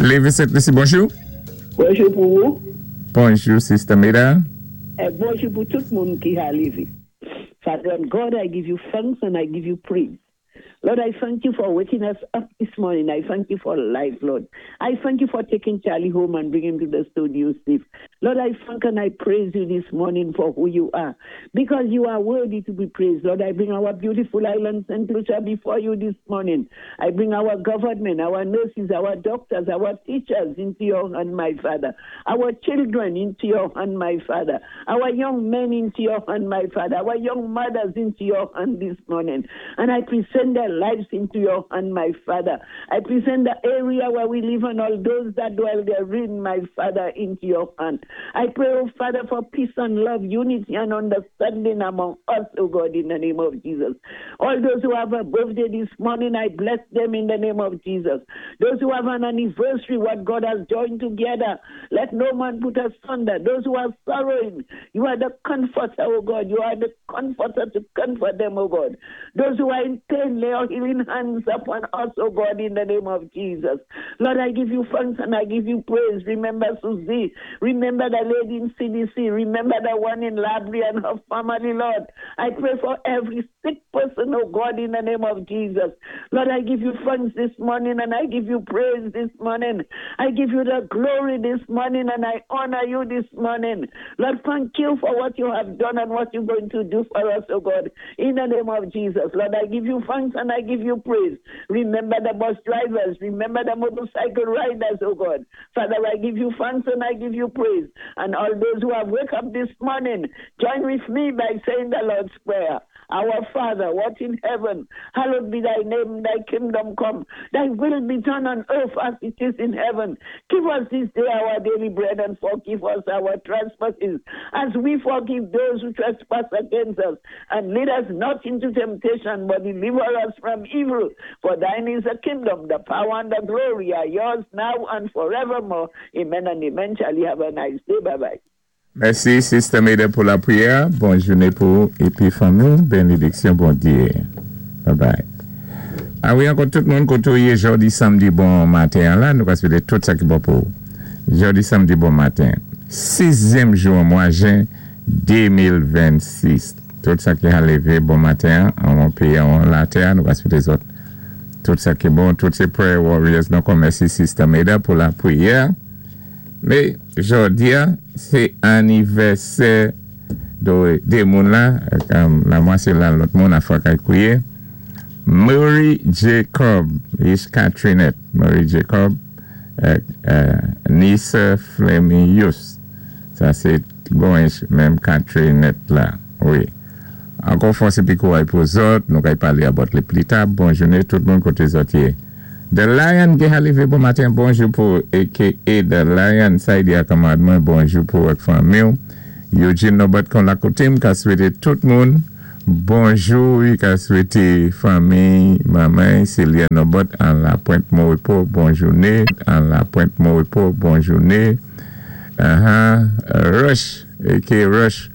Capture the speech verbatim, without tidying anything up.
Lévis Sent-Lisi, bonjou. Bonjou pou ou. Bonjou, Sister Meda. É bonjou pou tout moun ki a Lévis. Father God, I give you thanks and I give you praise. Lord, I thank you for waking us up this morning. I thank you for life, Lord. I thank you for taking Charlie home and bringing him to the studio safe. Lord, I thank and I praise you this morning for who you are, because you are worthy to be praised. Lord, I bring our beautiful island, Saint Lucia, before you this morning. I bring our government, our nurses, our doctors, our teachers into your hand, my Father. Our children into your hand, my Father. Our young men into your hand, my Father. Our young mothers into your hand this morning. And I present their lives into your hand, my Father. I present the area where we live and all those that dwell therein, my Father, into your hand. I pray, oh Father, for peace and love, unity and understanding among us, oh God, in the name of Jesus. All those who have a birthday this morning, I bless them in the name of Jesus. Those who have an anniversary, what God has joined together, let no man put asunder. Those who are sorrowing, you are the comforter, oh God. You are the comforter to comfort them, oh God. Those who are in pain, lay your healing hands upon us, oh God, in the name of Jesus. Lord, I give you thanks and I give you praise. Remember Susie. Remember the lady in C D C. Remember the one in Labrie and her family, Lord. I pray for every sick person, oh God, in the name of Jesus. Lord, I give you thanks this morning and I give you praise this morning. I give you the glory this morning and I honor you this morning. Lord, thank you for what you have done and what you're going to do for us, oh God, in the name of Jesus. Lord, I give you thanks and I give you praise. Remember the bus drivers. Remember the motorcycle riders, oh God. Father, I give you thanks and I give you praise. And all those who have woke up this morning, join with me by saying the Lord's Prayer. Our Father, what in heaven, hallowed be thy name, thy kingdom come, thy will be done on earth as it is in heaven. Give us this day our daily bread and forgive us our trespasses as we forgive those who trespass against us. And lead us not into temptation, but deliver us from evil. For thine is the kingdom, the power, and the glory are yours now and forevermore. Amen and amen. Charlie, have a nice day. Bye bye. Mèsi, Sister Meda, pou lapriyè. Bòn jounen pou épi fanmi. Bénédiksyon, Bondyé. Bye bye. A wi, ankò tout moun koté ou yé jòdi samdi bon maten la, nou ka swété tout sa ki bon pou. Jòdi samdi bon maten. Sizyèm jou mwa jen de mil vennsis. Tout sa ki a lévé bon maten, an péyi, an latè, nou ka swété zòt. Tout sa ki bon, tout sé prayer warriors. Donk, mèsi Sister Meda pou lapriyè. Mé jòdi a, sé anivèsè dé, dé moun la, la mwa sé la lòt moun a fwa kay kwiyé. Murray Jacob, is Katrinet, Murray Jacob, euh, euh, Nisa Flemius. Sa sé bon menm Katrinet la, wi. Ankò fòs épi kouray pou zòt, nou kay palé about li pli ta. Bon jounen tout moun koté zòt yé. The Lion ki lévé bon maten, bonjou pou A K A The Lion, Saidi Akamad mwen, bonjou pou ak fanmi. Eugene Nobert kon la koté, m ka swété tout moun. Bonjou, i ka swété fanmi, manman, Celia Nobert an la Pointe Moripo, bon jounen, an la Pointe Moripo, bon jounen. Uh-huh. Rush, A K A Rush.